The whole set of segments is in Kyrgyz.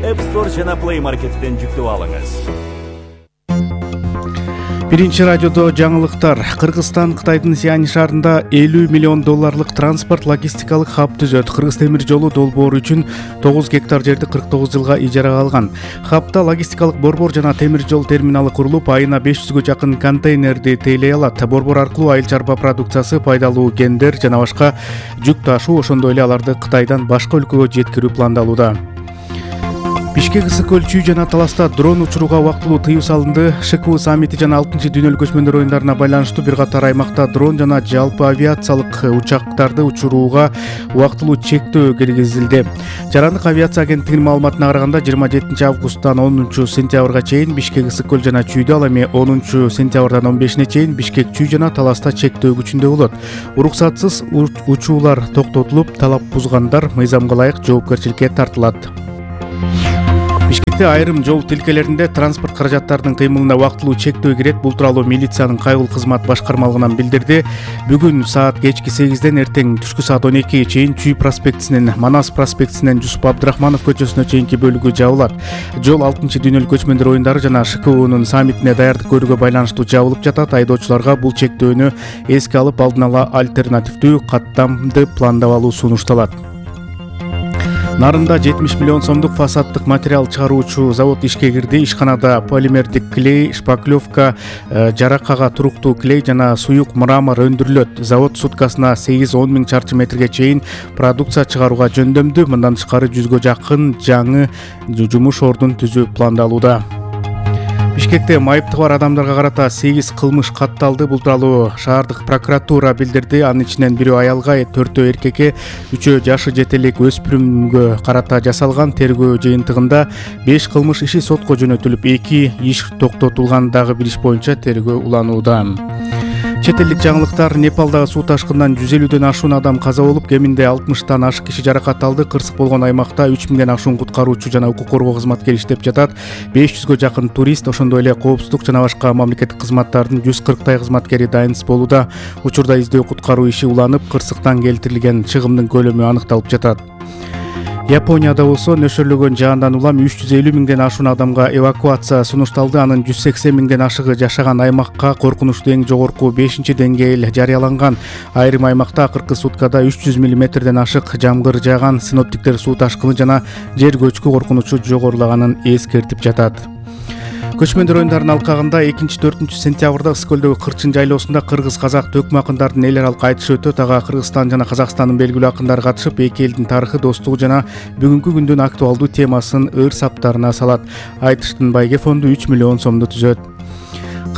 App Store жана Play Market'тен жүктөп алыңыз. Биринчи радиодо жаңылыктар. Кыргызстан Кытайдын Сиань шаарында $50 миллион транспорт логистикалык хаб түзөт. Кыргыз темир жолу долбоору үчүн 9 гектар жерди 49 жылга ижарага алган. Хабта логистикалык борбор жана темир жол терминалы курулуп, айына 500гө жакын контейнерди тейлей алат. Борбор аркылуу айыл чарба продукциясы, пайдалуу гендер жана башка жүк ташуу, ошондой эле аларды Кытайдан башка өлкөгө жеткирүү пландалууда. Бишкек ысык көл чүй жана таласта дрон учурууга убактылуу тыюу салынды. ШКУ саммити жана 6-дүйнөлүк көчмөндөр оюндарына байланыштуу бир катар аймакта дрон жана жалпы авиациялык учактарды учурууга убактылуу чектөө киргизилди. Жарандык авиация агенттигинин маалыматына караганда 27 августтан 10 сентябрга чейин Бишкек ысык көл жана чүйдө, ал эми 10 сентябрдан 15-не чейин Бишкек чүй жана таласта чектөө күчүндө болот. Уруксатсыз учуулар токтотулуп, талап бузгандар мыйзамга ылайык жоопкерчиликке тартылат. Бишкекте айрым жол тилкелеринде транспорт каражаттарынын кыймылына убактылуу чектөө кирет. Бул тууралуу милициянын кайгыл кызмат башкармалыгынан билдирди. Бүгүн саат кечки 8ден эртең түшкү саат 12ге чейин Чүй проспектисинен Манас проспектисинен Жусуп Абдрахманов көчөсүнө чейинки бөлүгү жабылат. Жол 6-дүйнөлүк көчмөндөр оюндары жана ШКУнун саммитине даярдык көрүүгө байланыштуу жабылып жатат. Айдоочуларга бул чектөөнү эске алып, алдын ала альтернативдүү каттамды пландап алуу сунушталат. Нарында 70 миллион сомдук фасаддык материал чыгаруучу завод ишке кирди. Ишканада полимердик клей, шпаклевка, жаракага туруктуу клей жана суюк мрамор өндүрүлөт. Завод суткасына 8-10 миң чарчы метрге чейин продукция чыгарууга жөндөмдүү. Мындан тышкары 100гө жакын жаңы жумуш ордун түзүү пландалууда. Бишкекте майыптыгы бар адамдарга карата 8 кылмыш катталды. Бул тууралуу шаардык прокуратура билдирди. Анын ичинен бирөө аялга, 4 эркекке, 3 жашы жетелик өспүрүмгө карата жасалган. Тергөө жыйынтыгында 5 кылмыш иши сотко жөнөтүлүп, 2 иш токтотулган. Дагы бир иш боюнча тергөө уланууда. Чет элдик жаңылыктар. Непалдагы суу ташкынынан 150дөн ашуун адам каза болуп, кеминде 60тан ашык киши жаракат алды. Кырсык болгон аймакта 3000ден ашуун куткаруучу жана укук коргоо кызматкери иштеп жатат. 500гө жакын турист, ошондой эле коопсуздук жана башка мамлекеттик кызматтардын 140 кызматкери дайынсыз болууда. Учурда издөө куткаруу иши уланып, кырсыктан келтирилген чыгымдын көлөмү аныкталып жатат. Японияда болсо нөшөрлөгөн жаандан улам 350 миңден ашуун адамга эвакуация сунушталды. Анын 180 миңден ашыгы жашаган аймакка коркунучтуу эң жогорку 5-деңгээл жарыяланган. Айрым аймакта акыркы суткада 300 мм ашык жамгыр жааган. Синоптиктер суу ташкыны жана жер көчкү коркунучу жогорулаганын эскертип жатат. Көчмөндөр оюндарынын алкагында 2-4 сентябрда Ысыкөлдөгү Кырчын жайлоосунда кыргыз-казак төкмө акындардын эл аралык айтышы өтөт. Ага Кыргызстан жана Казакстандын белгилүү акындары катышып, эки элдин тарыхы, достугу жана бүгүнкү күндүн актуалдуу темасын ыр саптарына салат. Айтыштын байге фонду 3 миллион сомду түзөт.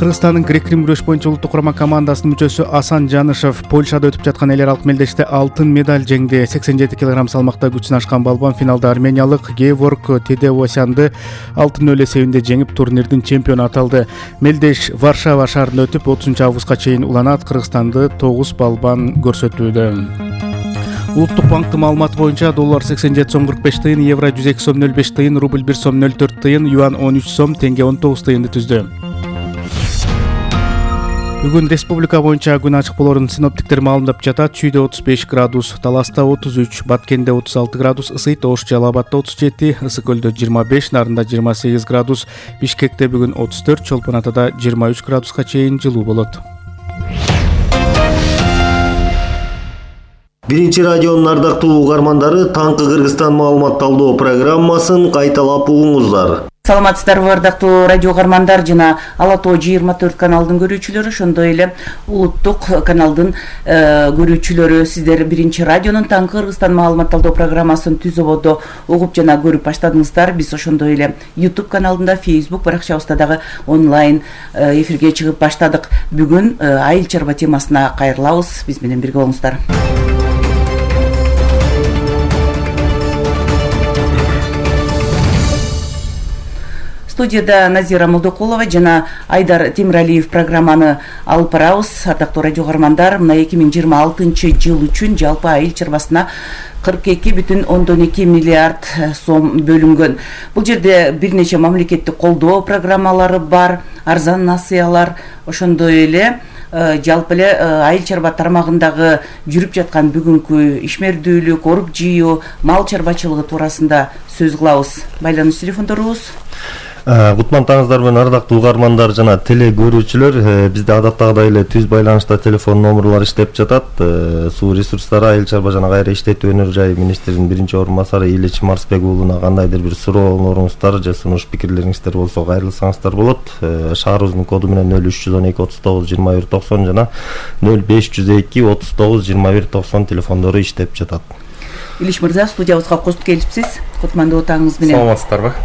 Кыргызстандын грек-рим күрөш боюнча улуттук курама командасынын мүчөсү Асан Жанышев Польшада өтүп жаткан эл аралык мелдеште алтын медаль жеңди. 87 кг салмакта күчүн ашкан балбан финалда армениялык Геворг Тедевосянды 6-0 эсебинде жеңип, турнирдин чемпиону аталды. Мелдеш Варшава шаарында өтүп, 30 августка чейин уланат. Кыргызстанды 9 балбан көрсөтүүдө. Улуттук банктын маалыматы боюнча доллар 87 сом 45 тыйын, евро 102 сом 05 тыйын, рубль 1 сом 04 тыйын, юан 13 сом, теңге 19 тыйынды түздү. Бүгүн республика боюнча күн ачык болорун синоптиктер маалымдап жатат. Чүйдө 35 градус, Таласта 33, Баткенде 36 градус ысыйт, Ош Жалал Абадта 37, Ысык көлдө 25, Нарында 28 градус, Бишкекте бүгүн 34, Чолпон Атада 23 градуска чейин жылуу болот. Биринчи радионун ардактуу угармандары, Таңкы Кыргызстан маалымат талдоо программасын кайталап угуңуздар. Саламатсыздарбы ардактуу радио угармандар жана Ала Тоо 24 каналдын көрүүчүлөрү, ошондой эле улуттук каналдын көрүүчүлөрү. Сиздер Биринчи радионун Таңкы Кыргызстан маалымат талдоо программасын түз ободо угуп жана көрүп баштадыңыздар. Биз ошондой эле YouTube каналында, Facebook баракчабызда дагы онлайн эфирге чыгып баштадык. Бүгүн айыл чарба темасына кайрылабыз. Биз менен бирге болуңуздар. Студияда Назира Молдокулова жана Айдар Темиралиев программаны алып барабыз. Ардактуу радио угармандар, мына 2026 жыл үчүн жалпы айыл чарбасына 42,2 миллиард сом бөлүнгөн. Бул жерде бир нече мамлекеттик колдоо программалары бар, арзан насыялар, ошондой эле жалпы эле айыл чарба тармагындагы жүрүп жаткан бүгүнкү ишмердүүлүк, оруп жыйуу, мал чарбачылыгы туурасында сөз кылабыз. Байланыш телефондорубуз. Кутмандыңыздар менен ардактуу угармандар жана теле көрүүчүлөр, бизде адаттагыдай эле түз байланышта телефон номерлор иштеп жатат. Суу ресурстары айыл чарба жана кайра иштетүү өнөр жайы министринин биринчи орун басары Илич Марсбек уулуна кандайдыр бир сурооңоруңуздар же сунуш пикирлериңиздер болсо кайрылсаңыздар болот. Шаарыбыздын коду менен 0312 39 21 90 жана 0502 39 21 90 телефондору иштеп жатат. Илич мырза, студиябызга кошуп келипсиз. Кутмандуу таңыңыз менен. Саламатсыздарбы?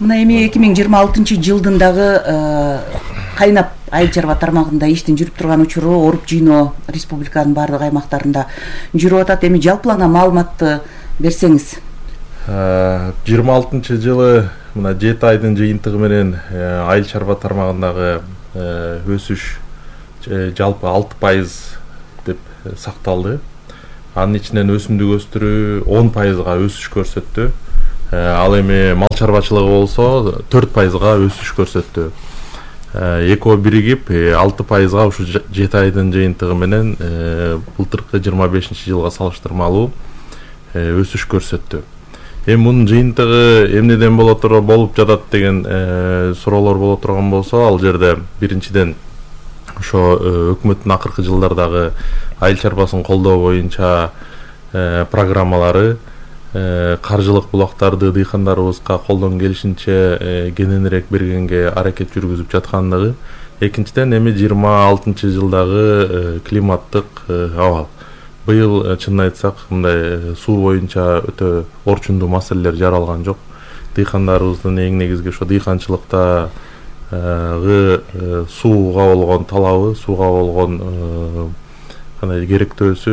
Мына эми 2026-жылдын дагы кайнап айыл чарба тармагында иштин жүрүп турган учуру оруп жыйноо республиканын баардык аймактарында жүрүп атат. Эми жалпылана маалыматты берсеңиз. 26-жылы мына 7 айдын жыйынтыгы менен айыл чарба тармагындагы өсүш жалпы 6% деп сакталды. Анын ичинен өсүмдүк өстүрүү 10%га өсүш көрсөттү. Ал эми мал чарбачылыгы болсо 4%га өсүш көрсөттү. Экөө биригип 6%га ушу 7 айдын жыйынтыгы менен былтыркы 25-жылга салыштырмалуу өсүш көрсөттү. Эми мунун жыйынтыгы эмнеден болуп жатат деген суроолор боло турган болсо, ал жерде биринчиден ошо өкмөттүн акыркы жылдардагы айыл чарбасын колдоо боюнча программалары, каржылык булактарды дыйкандарыбызга колдон келишинче кененирээк бергенге аракет жүргүзүп жаткандыгы. Экинчиден эми 26-жылдагы климаттык абал. Быйыл чынын айтсак, мындай суу боюнча өтө орчундуу маселелер жаралган жок. Дыйкандарыбыздын эң негизги ошо дыйканчылыктагы сууга болгон талабы, сууга болгон кандай керектөөсү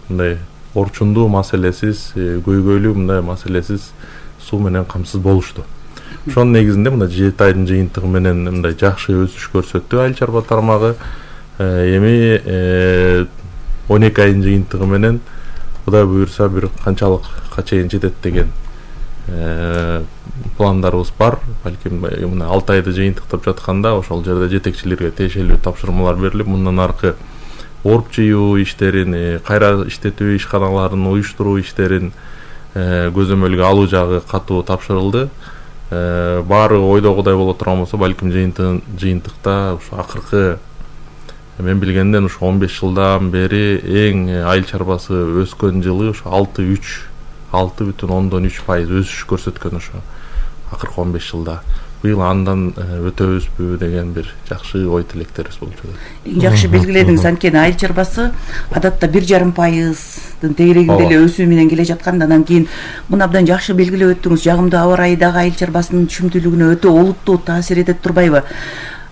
мындай орчундуу, маселесиз, көйгөйлүү мындай маселесиз суу менен камсыз болушту. Ошонун негизинде мына 7 айдын жыйынтыгы менен мындай жакшы өсүш көрсөттү айыл чарба тармагы. Эми 12 айдын жыйынтыгы менен Кудай буюрса бир канчалыкка чейин жетет деген пландарыбыз бар. Балким мына 6 айды жыйынтыктап жатканда ошол жерде жетекчилерге тиешелүү тапшырмалар берилип, мындан аркы оруп жыйуу иштерин, кайра иштетүү ишканаларын уюштуруу иштерин көзөмөлгө алуу жагы катуу тапшырылды. Баары ойдогудай боло турган болсо, балким жыйынтыкта ушу акыркы мен билгенден ушу 15 жылдан бери эң айыл чарбасы өскөн жылы ушу 6,3% өсүш көрсөткөн ошо акыркы 15 жылда. Быйыл андан өтөбүзбү деген бир жакшы ой тилектерибиз болуп жатат. Эң жакшы белгиледиңиз, анткени айыл чарбасы адатта 1,5%дын тегерегинде эле өсүү менен келе жаткан. Андан кийин муну абдан жакшы белгилеп өттүңүз. Жагымдуу аба ырайы дагы айыл чарбасынын түшүмдүүлүгүнө өтө олуттуу таасир этет турбайбы?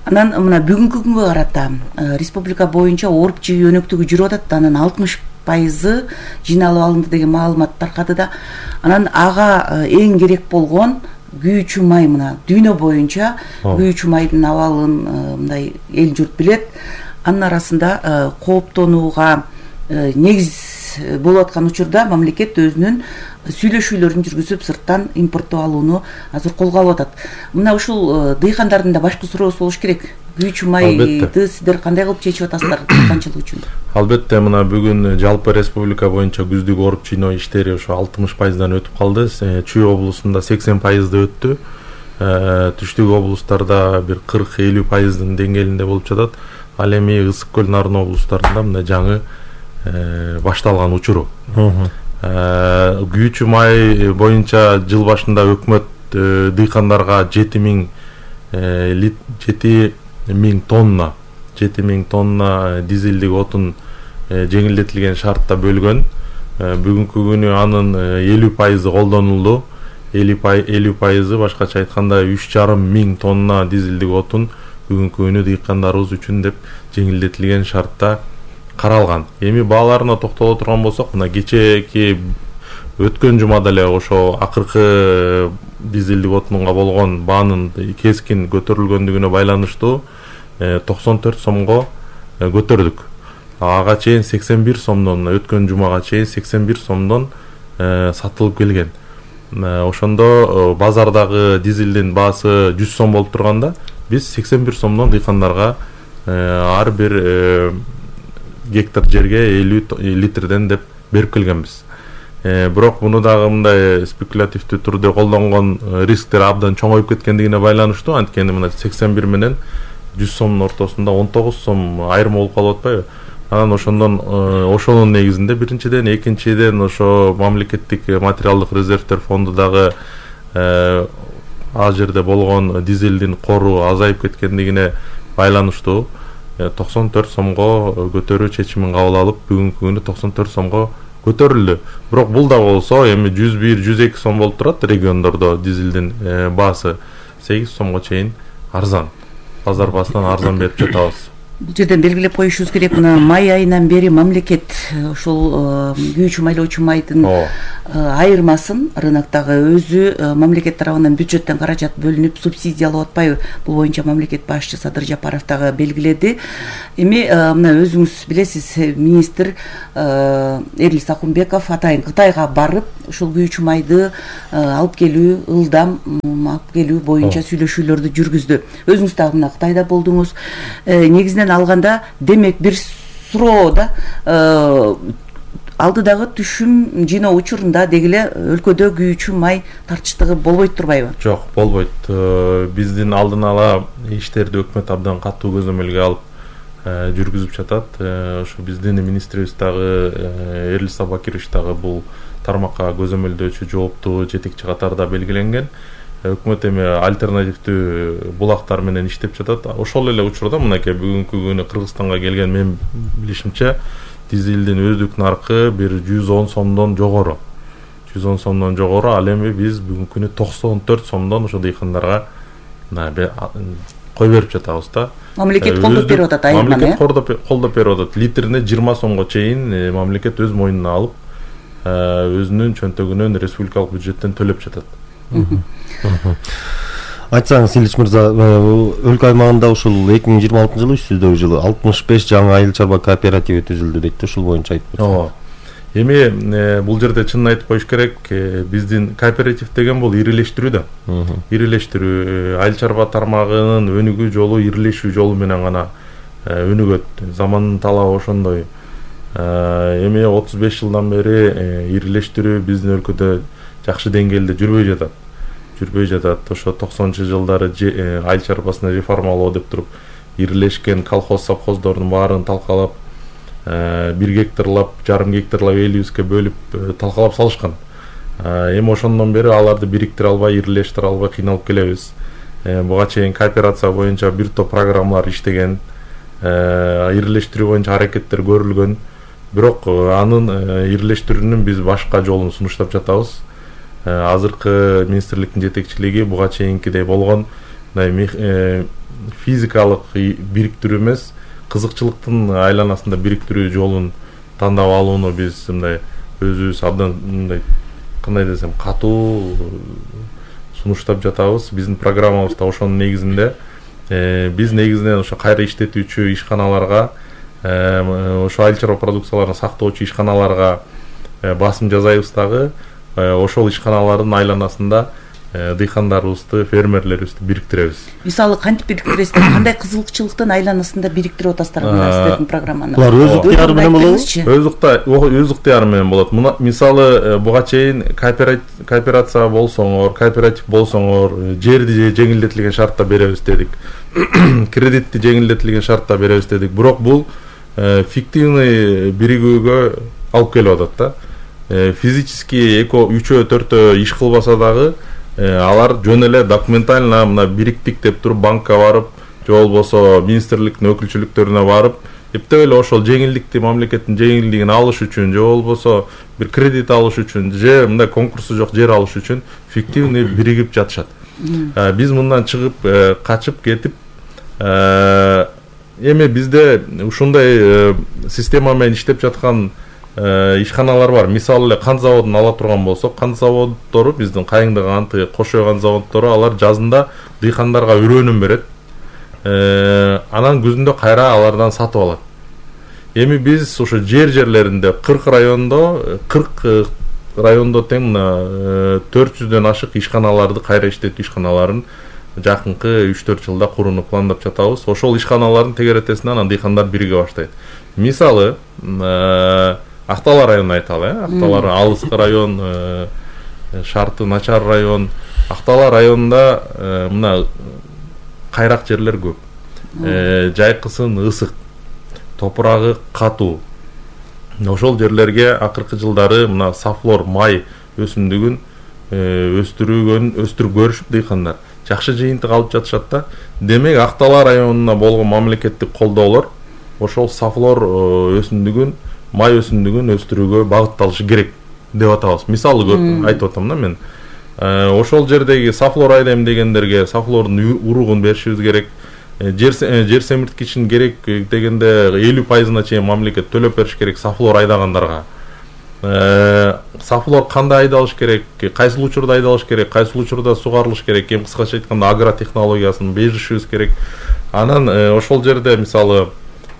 Анан мына бүгүнкү күнгө карата республика боюнча оруп жыйуу өнөктүгү жүрүп атат. Анын 60% жыйналып алынды деген маалымат таркады да. Анан ага эң керек болгон күйүүчү май, мына дүйнө боюнча күйүүчү майдын абалын мындай эл журт билет. Анын арасында кооптонууга негиз болуп аткан учурда мамлекет өзүнүн сүйлөшүүлөрүн жүргүзүп, сырттан импорттоп алууну азыр колго алып атат. Мына ушул дыйкандардын да башкы суроосу болуш керек. Күйүүчү майды сиздер кандай кылып чечип атасыздар дыйканчылык үчүн? Албетте, мына бүгүн жалпы республика боюнча күздүк оруп жыйноо иштери ошо 60%дан өтүп калды. Чүй облусунда 80%ды өттү. Түштүк облустарда бир 40-50%дын деңгээлинде болуп жатат. Ал эми Ысык көл, Нарын облустарында мына жаңы башталган учуру. Күйүүчү май боюнча жыл башында өкмөт дыйкандарга 7000 тонна дизелдик отун жеңилдетилген шартта бөлгөн. Бүгүнкү күнү анын 50% колдонулду. 50% башкача айтканда 3500 тонна дизелдик отун бүгүнкү күнү дыйкандарыбыз үчүн деп жеңилдетилген шартта каралган. Эми бааларына токтоло турган болсок, мына кечээки өткөн жумада эле ошо акыркы дизелдик отунга болгон баанын кескин көтөрүлгөндүгүнө байланыштуу 94 сомго көтөрдүк. Ага чейин 81 сомдон, өткөн жумага чейин 81 сомдон сатылып келген. Ошондо базардагы дизелдин баасы 100 сом болуп турганда, биз 81 сомдон дыйкандарга ар бир гектар жерге 50 литрден деп берип келгенбиз. Бирок муну дагы мындай спекулятивдүү түрдө колдонгон рисктер абдан чоңоюп кеткендигине байланыштуу. Анткени мына 81 менен 100 сомдун ортосунда 19 сом айырым болуп калып атпайбы? Анан ошонун негизинде биринчиден, экинчиден ошо мамлекеттик материалдык резервдер фонду дагы ал жерде болгон дизелдин кору азайып кеткендигине байланыштуу 94 сомго көтөрүү чечимин кабыл алып, бүгүнкү күнү 94 сомго көтөрүлдү. Бирок бул да болсо эми 101-102 сом болуп турат региондордо дизелдин баасы 8 сомго чейин арзан. Базар баасынан арзан берип жатабыз. Бул жерден белгилеп коюшубуз керек, мына май айынан бери мамлекет ушул күйүүчү майлоочу майдын айырмасын рыноктогы өзү мамлекет тарабынан бюджеттен каражат бөлүнүп субсидиялап атпайбы? Бул боюнча мамлекет башчы Садыр Жапаров дагы белгиледи. Эми мына өзүңүз билесиз, министр Эрил Сакунбеков атайын Кытайга барып, ушул күйүүчү майды алып келүү, ылдам алып келүү боюнча сүйлөшүүлөрдү жүргүздү. Өзүңүз дагы мына Кытайда болдуңуз. Негизинен алганда демек бир суроода алдыдагы түшүм жыйноо учурунда дегиле өлкөдө күйүүчү май тартыштыгы болбойт турбайбы? Жок, болбойт. Биздин алдын ала иштерди өкмөт абдан катуу көзөмөлгө алып жүргүзүп жатат. Ошо биздин министрибиз дагы Эрил Сабакирович дагы бул тармакка көзөмөлдөөчү жооптуу жетекчи катарда белгиленген. Өкмөт эми альтернативдүү булактар менен иштеп жатат. Ошол эле учурда мынакей бүгүнкү күнү Кыргызстанга келген мен билишимче дизелдин өздүк наркы бир 110 сомдон жогору. 110 сомдон жогору, ал эми биз бүгүнкү күнү 94 сомдон ошо дыйкандарга кой берип жатабыз да. Мамлекет колдоп берип атат айырманы. Мамлекет колдоп берип атат. Литрине 20 сомго чейин мамлекет өз мойнуна алып, өзүнүн чөнтөгүнөн республикалык бюджеттен төлөп жатат. Айтсаңыз, Илич мырза, өлкө аймагында ушул 2026 жылы, үстүздөгү жылы 65 жаңы айыл чарба кооперативи түзүлдү дейт. Ушул боюнча айтып берсеңиз. Эми бул жерде чынын айтып коюш керек, биздин кооператив деген бул ирилештирүү да. Ирилештирүү, айыл чарба тармагынын өнүгүү жолу ирилешүү жолу менен гана өнүгөт. Замандын талабы ошондой. Эми 35 жылдан бери ирилештирүү биздин өлкөдө жакшы деңгээлде жүрбөй жатат. Ошо 90-жылдары айыл чарбасын реформалоо деп туруп ирилешкен колхоз совхоздордун баарын талкалап, 1 гектарлап, жарым гектарлап элибизге бөлүп талкалап салышкан. Эми ошондон бери аларды бириктире албай, ирилештире албай кыйналып келебиз. Буга чейин кооперация боюнча бир топ программалар иштеген, ирилештирүү боюнча аракеттер көрүлгөн. Бирок анын ирилештирүүнүн биз башка жолун сунуштап жатабыз. Азыркы министрликтин жетекчилиги буга чейинкидей болгон физикалык бириктирүү эмес, кызыкчылыктын айланасында бириктирүү жолун тандап алууну биз мындай өзүбүз абдан мындай кандай десем катуу сунуштап жатабыз. Биздин программабызда ошонун негизинде биз негизинен ошо кайра иштетүүчү ишканаларга, ошо айыл чарба продукцияларын сактоочу ишканаларга басым жасайбыз дагы. Ошол ишканалардын айланасында дыйкандарыбызды, фермерлерибизди бириктиребиз. Мисалы кантип бириктиресиздер? Кандай кызыкчылыктын айланасында бириктирип атасыздар сиздердин программаны? Булар өз ыктыяры менен болобу? Өз ыктыяры менен болот. Мисалы буга чейин кооперация болсоңор, кооператив болсоңор, жерди жеңилдетилген шартта беребиз дедик. Кредитти жеңилдетилген шартта беребиз дедик. Бирок бул фиктивный биригүүгө алып келип атат да. Физически 2-3-4 иш кылбаса дагы алар жөн эле документально мына бириктик деп туруп банкка барып, же болбосо министрликтин өкүлчүлүктөрүнө барып, эптеп эле ошол жеңилдикти, мамлекеттин жеңилдигин алыш үчүн, же болбосо бир кредит алыш үчүн, же мындай конкурсу жок жер алыш үчүн фиктивный биригип жатышат. Биз мындан чыгып, качып кетип, эми бизде ушундай система менен иштеп жаткан ишканалар бар. Мисалы эле кант заводун ала турган болсок, кант заводдору биздин Кайыңды канты, Кошой кант заводдору алар жазында дыйкандарга өрөөнүн берет. Анан күзүндө кайра алардан сатып алат. Эми биз ошо жерлеринде 40 райондо тең 400дөн ашык ишканаларды, кайра иштетүү ишканаларын жакынкы 3-4 жылда курууну пландап жатабыз. Ошол ишканалардын тегеретесине анан дыйкандар бириге баштайт. Мисалы, Актала районун айталы, Актала алыскы район, шарты начар район. Актала районунда мына кайрак жерлер көп. Жайкысын ысык, топурагы катуу. Ошол жерлерге акыркы жылдары мына сафлор май өсүмдүгүн өстүрүп көрүшүп дыйкандар жакшы жыйынтык алып жатышат да. Демек Актала районуна болгон мамлекеттик колдоолор ошол сафлор өсүмдүгүн, май өсүмдүгүн өстүрүүгө багытталышы керек деп атабыз. Мисалы айтып атам да мен. Ошол жердеги сафлор айдайм дегендерге сафлордун уругун беришибиз керек. Жер семирткичин керек дегенде 50%-на чейин мамлекет төлөп бериш керек сафлор айдагандарга. Сафлор кандай айдалыш керек, кайсыл учурда айдалыш керек, кайсыл учурда сугарылыш керек, эми кыскача айтканда агротехнологиясын беришибиз керек. Анан ошол жерде мисалы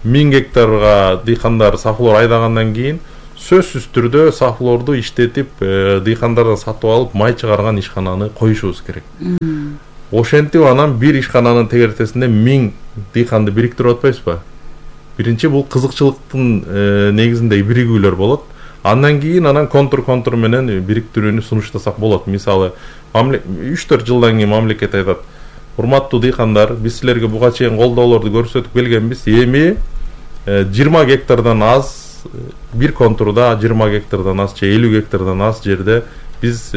1000 гектарга дыйкандар сафлор айдагандан кийин сөзсүз түрдө сафлорду иштетип дыйкандардан сатып алып май чыгарган ишкананы коюшубуз керек. Ошентип анан бир ишкананын тегеретесинде 1000 дыйканды бириктирип атпайбызбы? Биринчи бул кызыкчылыктын негизинде биригүүлөр болот. Андан кийин анан контур менен бириктирүүнү сунуштасак болот. Мисалы 3-4 жылдан кийин мамлекет айтат: "Урматтуу дыйкандар, биз силерге буга чейин колдоолорду көрсөтүп келгенбиз. Эми 20 гектардан аз бир контурда 20 гектардан аз же 50 гектардан аз жерде биз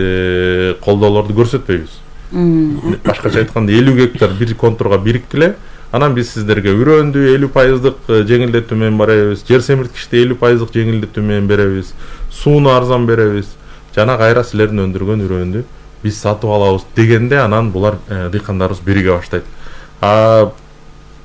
колдоолорду көрсөтпөйбүз. Башкача айтканда 50 гектар бир контурга бириктиле, анан биз сиздерге үрөөндү 50%дык жеңилдетүү менен беребиз, жер семирткичти 50%дык жеңилдетүү менен беребиз, сууну арзан беребиз, жана кайра силердин өндүргөн үрөөндү биз сатып алабыз" дегенде анан булар дыйкандарыбыз бириге баштайт.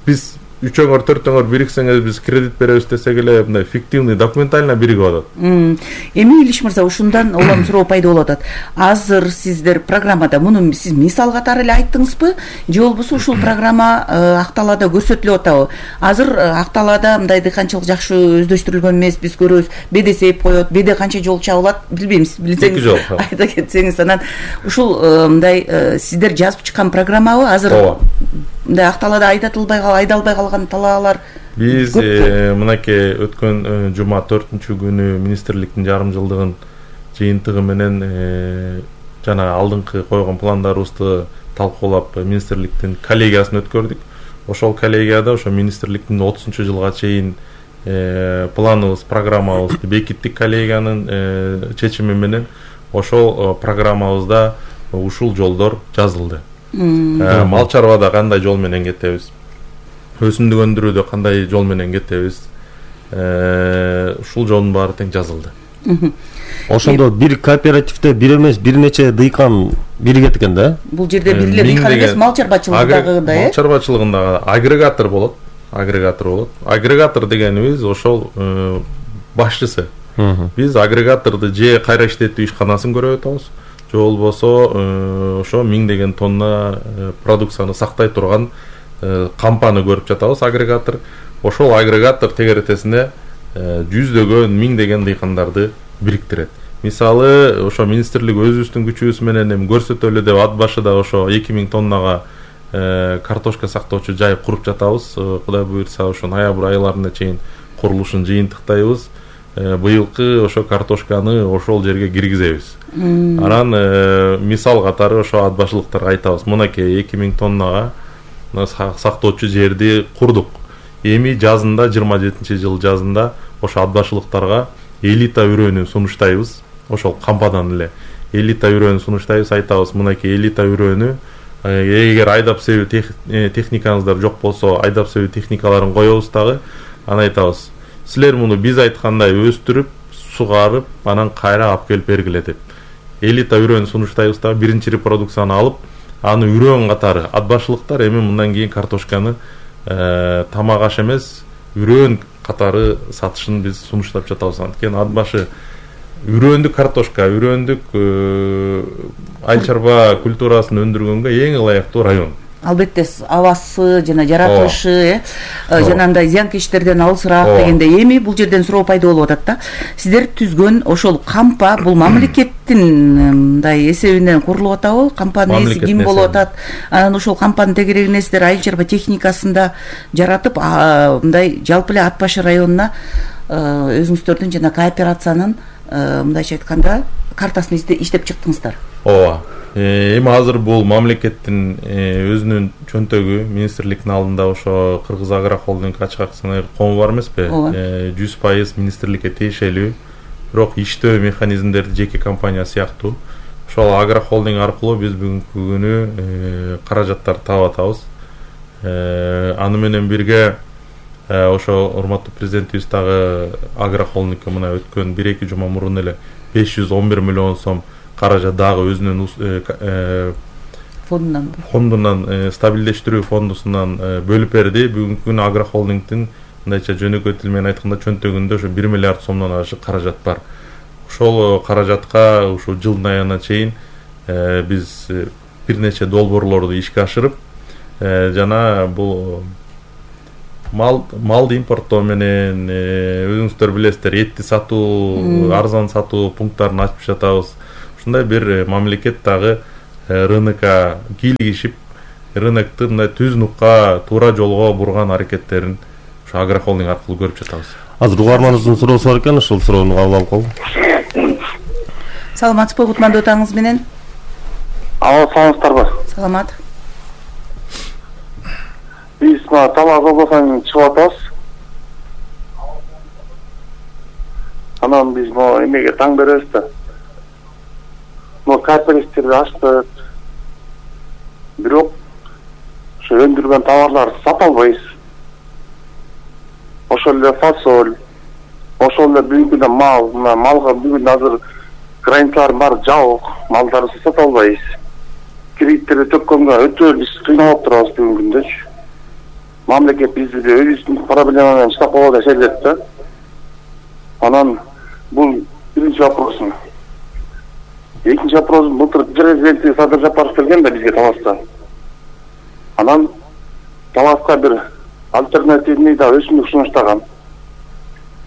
Биз 3-4 бириксеңиз биз кредит беребиз десек эле мындай фиктивный документально биригип атат. Эми Илиш мырза, ушундан улам суроо пайда болуп атат. Азыр сиздер программада муну сиз мисал катары эле айттыңызбы, же болбосо ушул программа Акталада көрсөтүлүп атабы? Азыр Акталада мындай дыйканчылык жакшы өздөштүрүлгөн эмес, биз көрөбүз. Беде сейип коет, беде канча жол чабылат билбеймиз. Билсеңиз айта кетсеңиз. Анан ушул мындай сиздер жазып чыккан программабы? Азыр мындай Акталада айдалбай калган талаалар биз мынакей өткөн жума 4-күнү министрликтин жарым жылдыгын жыйынтыгы менен жана алдыңкы койгон пландарыбызды талкуулап министрликтин коллегиясын өткөрдүк. Ошол коллегияда ошо министрликтин 30-жылга чейин планыбыз, программабызды бекиттик. Коллегиянын чечими менен ошол программабызда ушул жолдор жазылды. Мал чарбада кандай жол менен кетебиз, өсүмдүк өндүрүүдө кандай жол менен кетебиз, ушул жолдун баары тең жазылды. Ошондо бир кооперативде бир эмес бир нече дыйкан биригет экен да? Бул жерде бир эле дыйкан эмес, мал чарбачылыгындагы мал чарбачылыгындагы агрегатор болот. Агрегатор дегенибиз ошол башчысы. Биз агрегаторду же кайра иштетүү ишканасын көрүп атабыз, же болбосо ошо 1000 тонна продукцияны сактай турган кампаны көрүп жатабыз. Агрегатор, ошол агрегатор тегеретесине 100-дөгөн 1000 дыйкандарды бириктирет. Мисалы ошо министрлик өзүбүздүн күчүбүз менен эми көрсөтөлү деп ат башыда ошо 2000 тоннага картошка сактоочу жай куруп жатабыз. Кудай буйрса ошо ноябрь айларына чейин курулушун жыйынтыктайбыз. Быйылкы ошо картошканы ошол жерге киргизебиз. Анан мисал катары ошо ат башылыктарга айтабыз: "Мынакей 2000 тоннага сактоочу жерди курдук. Эми жазында 27-жыл жазында ошо ат башылыктарга элита үрөөнү сунуштайбыз. Ошол кампадан эле элита үрөөнү сунуштайбыз, айтабыз: "Мынакей элита үрөөнү, эгер айдап себүү техникаңыздар жок болсо, айдап себүү техникаларын коебуз дагы. Анан айтабыз: силер муну биз айткандай өстүрүп, сугарып, анан кайра алып келип бергиле" деп. Элита үрөөнү сунуштайбыз дагы, биринчи репродукцияны алып, аны үрөөн катары ат башылыктар эми мындан кийин картошканы тамак аш эмес, үрөөн катары сатышын биз сунуштап жатабыз. Анткени ат башы үрөөндүк картошка, үрөөндүк айыл чарба культурасын өндүргөнгө эң ылайыктуу район. албетте абасы жана жаратылышы жанагындай зыянкечтерден алысыраак дегендей. Эми бул жерден суроо пайда болуп атат да. Сиздер түзгөн ошол кампа бул мамлекеттин мындай эсебинен курулуп атабы? Кампанын ээси ким болуп атат? Анан ошол кампанын тегерегине сиздер айыл чарба техникасын да жаратып, мындай жалпы эле Ат башы районуна өзүңүздөрдүн жана кооперациянын мындайча айтканда картасын иштеп чыктыңыздар. Ооба. Эми азыр бул мамлекеттин өзүнүн чөнтөгү министрликтин алдында ошо Кыргыз Агро Холдинг ачык акционер кому бар эмеспи? 100% министрликке тиешелүү. Бирок иштөө механизмдерди жеке компания сыяктуу. Ошол Агро Холдинг аркылуу биз бүгүнкү күнү каражаттар таап атабыз. Аны менен бирге ошо урматтуу президентибиз дагы Агро Холдингке мына өткөн 1-2 жума мурун эле 511 миллион сом каражат дагы өзүнүн фондунан стабилдештирүү фондусунан бөлүп берди. Бүгүнкү күнү Агро Холдингдин мындайча жөнөкөй тил менен айтканда чөнтөгүндө ошо 1 миллиард сомдон ашык каражат бар. Ошол каражатка ушул жылдын аягына чейин биз бир нече долбоорлорду ишке ашырып жана бул малды импорттоо менен өзүңүздөр билесиздер, этти сатуу, арзан сатуу пункттарын ачып жатабыз. Ушундай бир мамлекет дагы рынокко кийлигишип, рынокту мындай түз нукка, туура жолго бурган аракеттерин ушу Агро Холдинг аркылуу көрүп жатабыз. Азыр угарманыбыздын суроосу бар экен, ошол суроону кабыл алып калгым. Саламатсызбы кутмандуу таңыңыз менен? Саламатсыздарбы? Саламат. Биз Талас областынан чыгып атабыз. Анан биз эмеге таң беребиз да. Кооперативди ачтык. Бирок ошо өндүргөн товарларды сата албайбыз. Ошол эле фасоль, ошол эле бүгүнкү күндө малга бүгүн азыр границалар баары жабык, малдарды сата албайбыз. Кредиттерди төккөнгө өтө биз кыйналып турабыз бүгүнкү күндөчү. Мамлекет бизди өзүнүн проблема менен чыдап калган деп сезет да. Анан бул биринчи вопросум. Экинчи вопросум, былтыр президент Садыр Жапаров келген да бизге Таласка. Анан Таласка бир альтернативный да өсүмдүк сунуштаган.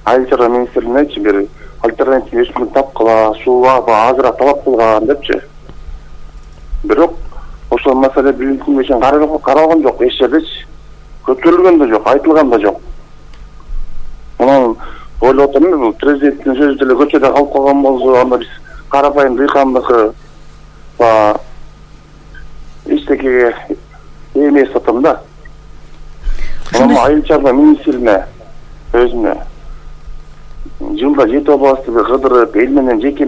Айыл чарба министрлигинечи бир альтернативный өсүмдүк тапкыла, сууга азыраак талап кылган депчи. Бирок ошол маселе бүгүнкү күнгө чейин каралган жок, эч жердечи. Көтөрүлгөн да жок, айтылган да жок. Анан ойлоп атам, бул президенттин сөзү деле көчөдө калып калган болсо, анда биз карапайым дыйкандыкы эчтекеге эмес атам да. Анан айыл чарба министрлигине өзүнө жылда 7 областты кыдырып, эл менен жеке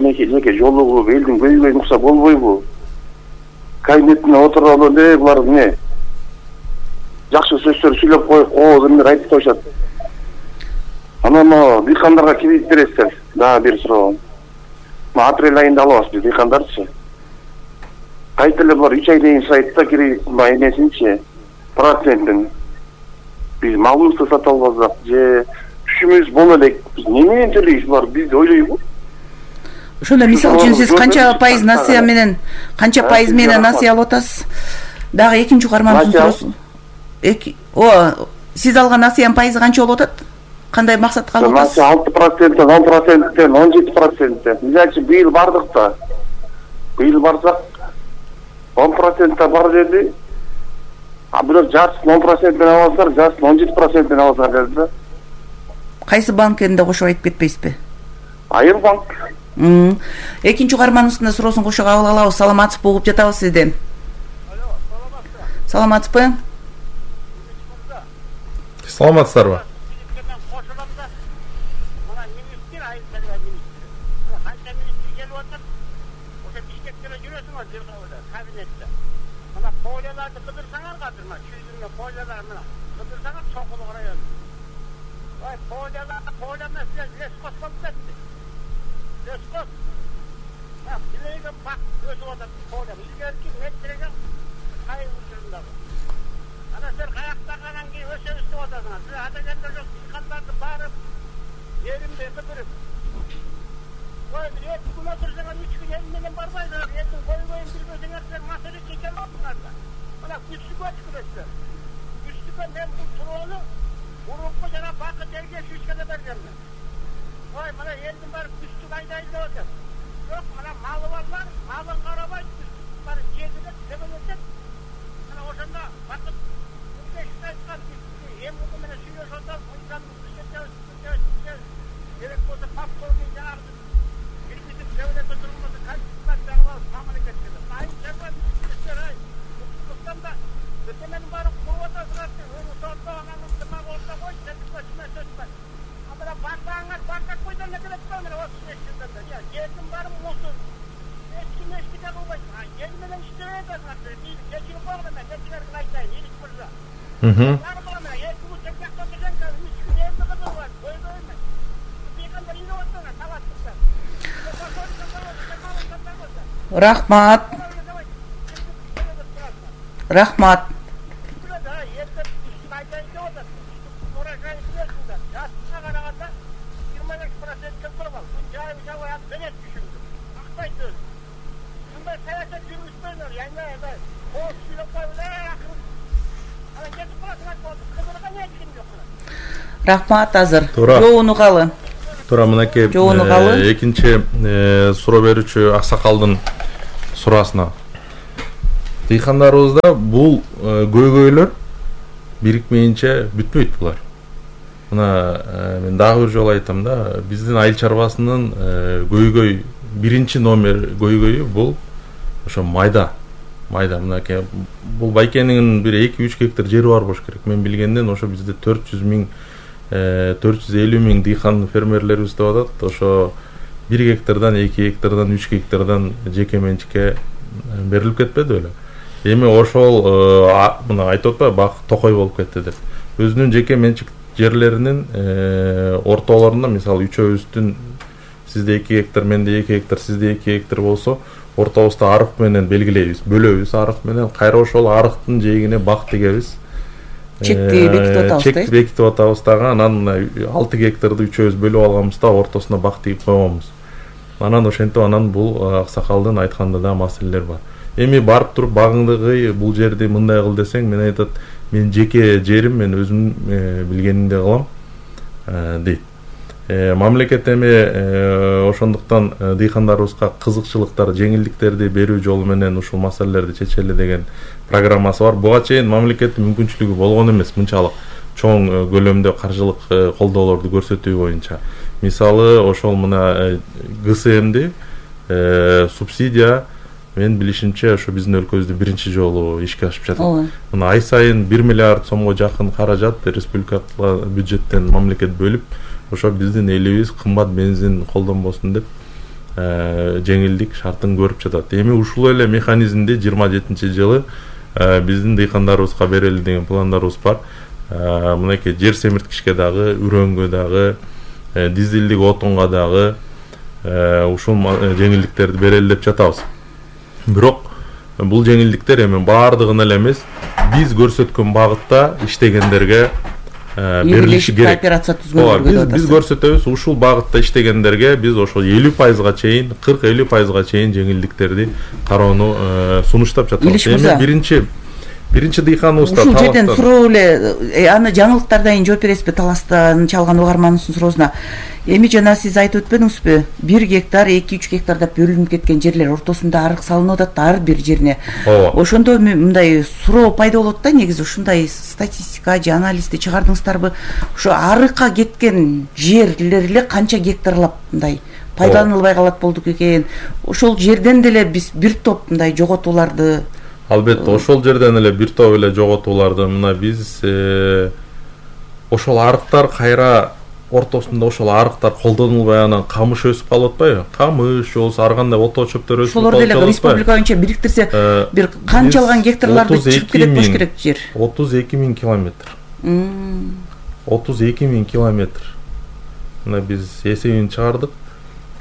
жолугуп, элдин көйгөйүн укса болбойбу? Кабинетине отуруп эле булар эмне? Жакшы сөздөр сүйлөп коюп, эмнелер айтып коюшат. Анан дыйкандарга кредит бересиздер. Дагы бир суроо. Апрель айында алабыз биз дыйкандарчы. Кайта эле булар 3 ай дейин сурайт да кредит эмесинчи, процентин. Биз малыбызды сата албасак же түшүмүз боло элек, биз неменен төлөйбүз булар, биз ойлойбу? Ошондо мисалы үчүн сиз канча пайыз насыя менен, насыя алып атасыз? Дагы экинчи угармандын суроосу. Сиз алган насыянын пайызы канча болуп атат? Кандай максатка алып атасыз? 6%, 10%, 17%. Мисалы быйыл бардык да. Быйыл барсак 10% бар деди. А бирок жартысын 10% аласыздар, жартысын 17% аласыздар деди да. Кайсы банкенде кошуп айтып кетпейсизби? Айыл банк. Экинчи угарманыбыздын суроосун кошо кабыл алабыз. Саламатсызбы, угуп жатабыз сизди. Саламатсызбы? Саламатсыздарбы? берген. Ой, мына элдин баары күчтүк айдайын деп атат. Жок, мына малы барлар, малын карабай, күчтүк баары жегилет, себелетет. Мына ошондо бакыт күчтүк айткан эм угу менен сүйлөшүп атып, инсандын күчтүк керек болсо повторный жаңағы билгизип сөйлөтө турганда качествосын жагып мамлекет керек. Айыл чарба министрликтер Кыргызстан да өтөмөнүн баарын куруп атасыңар. Өңү соондогонуңду мага орто кой, сен сөз бар. Ана бардаңар бардак койдон эле келет го, мына 35 жылдан бери. Жердин баары мусор. Эч ким эчтеке кылбайт. Ел менен иштебей атасыңар. Кечирип койгон мен, кечирерин айтайын, Илич мырза. Рахмат. Рахмат. Рахмат азыр. Жоонугалы. Туура мынакей экинчи суроо берүүчү аксакалдын суроосуна. Дыйкандарыбызда бул көйгөйлөр бирикмейинче бүтпөйт булар. Мына мен дагы бир жолу айтам да, биздин айыл чарбасынын көйгөй биринчи номер көйгөйү бул ошо майда. Мынакей бул байкенин бир 2-3 гектар жери бар болуш керек. Мен билгенден ошо бизде 450 миң дыйкан фермерлерибиз деп атат. Ошо 1 гектардан 2 гектардан 3 гектардан жеке менчикке берилип кетпеди беле. Эми ошол мына айтып атпайбы, бак токой болуп кетти деп. Өзүнүн жеке менчик жерлеринин ортолорунда, мисалы үчөөбүздүн сизде 2 гектар, менде 2 гектар, сизде 2 гектар болсо, ортобузда арык менен белгилейбиз, бөлөбүз арык менен, кайра ошол арыктын жээгине бак тегебиз. Чекти бекитип атабыз. Чекти бекитип атабыз дагы, анан 6 гектарды үчөөбүз бөлүп алганбызда ортосуна бак тегип койгонбуз. Анан ошентип анан бул аксакалдын айтканда да маселелер бар. Эми барып туруп багыңдагы бул жерди мындай кыл десең, мен айтат, мен жеке жерим, мен өзүм билгенимди кылам дейт. Мамлекет эми ошондуктан дыйкандарыбызга кызыкчылыктар, жеңилдиктерди берүү жолу менен ушул маселелерди чечели деген программасы бар. Буга чейин мамлекеттин мүмкүнчүлүгү болгон эмес, мынчалык чоң көлөмдө каржылык колдоолорду көрсөтүү боюнча. Мисалы ошол мына ГСМди субсидия мен билишимче ошо биздин өлкөбүздө биринчи жолу ишке ашып жатат. Мына ай сайын 1 миллиард сомго жакын каражат республикалык бюджеттен мамлекет бөлүп, ошо биздин элибиз кымбат бензин колдонбосун деп жеңилдик шартын көрүп жатат. Эми ушул эле механизмди 27-жылы биздин дыйкандарыбызга берели деген пландарыбыз бар. Мынакей жер семирткичке дагы, үрөнгө дагы, дизелдик отунга дагы ушул жеңилдиктерди берели деп жатабыз. Бирок бул жеңилдиктер эми баардыгына эле эмес, биз көрсөткөн багытта иштегендерге берилиши керек. Биз көрсөтөбүз, ушул багытта иштегендерге биз ошол 50%га чейин, 40-50%га чейин жеңилдиктерди кароону сунуштап жатабыз. Эми биринчи дыйканыбызда ушул жерден суроо эле, аны жаңылыктардан жооп бересизби? Таластан чалган угарманыбыздын суроосуна. Эми жана сиз айтып өтпөдүңүзбү? 1 гектар, 2-3 гектар деп бөлүнүп кеткен жерлер ортосунда арык салынып атат ар бир жерине. Ошондо мындай суроо пайда болот да, негизи ушундай статистика же анализди чыгардыңыздарбы? Ошо арыкка кеткен жерлер эле канча гектарлап мындай пайдаланылбай калат болдук экен. Ошол жерден деле биз бир топ мындай жоготууларды албетте ошол жерден эле бир топ эле жоготууларды мына биз ошол арыктар кайра ортосунда ошол арыктар колдонулбай анан камыш өсүп калып атпайбы? Камыш болсо ар кандай ото чөптөр өсүп калып атпайбы? Ошолор деле республика боюнча бириктирсе бир канчалган гектарларды чыгып кетет болуш керек жер? 32 000 километр. 32 000 километр. Мына биз эсебин чыгардык.